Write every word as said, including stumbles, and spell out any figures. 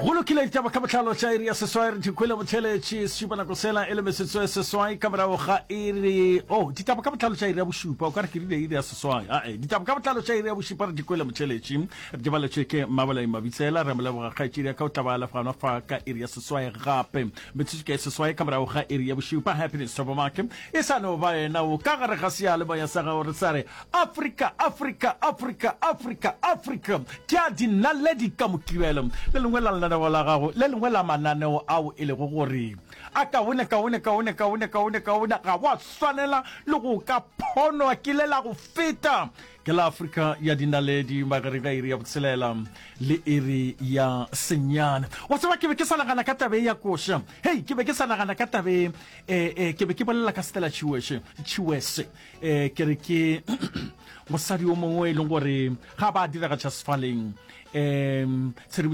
Go lokile, ditaba ka botlalo tša iri ya seswai re di kwele botheletši šupa nako sela e le metsotso e seswai ka morago ga iri. Oh, ditaba ka botlalo tša iri ya bošupa, o ka re ke rile iri ya seswai. Ae, ditaba ka botlalo tša iri ya bošupa re di kwele botheletši, re di baletšwe ke Mmabolai Mabitsela. Re mo leboga kgaetšedi ya ka, o tla ba lefganwa fa ka iri ya seswai gape. Metsotso ke e seswai ka morago ga iri ya bošupa. Happiness Supermarket e sa no ba yena o ka gare ga seyalemoya sa gago re sa re Afrika, Afrika, Afrika, Afrika, Afrika, ke a dinaledi ka Mokibelo. Le lengwe la lenaneo la gago, le lengwe la mananeo ao e lego gore a kaone, kaone, kaone, kaone, kaone, kaone, ga wa swanela le go ka phonwa ke le la go feta, ke la Afrika ya Dinaledi, magareng ga iri ya botshelela le iri ya senyane. Wa tseba, ke be ke sa nagana ka tabe ya koša. Hei, ke be ke sa nagana ka tabe, eh, eh, ke be ke bolela ka Stella Chiweshe, Chiwese. Eh, ke re ke mosadi o mongwe e leng gore ga ba diragatša sefaleng, um tshedimošo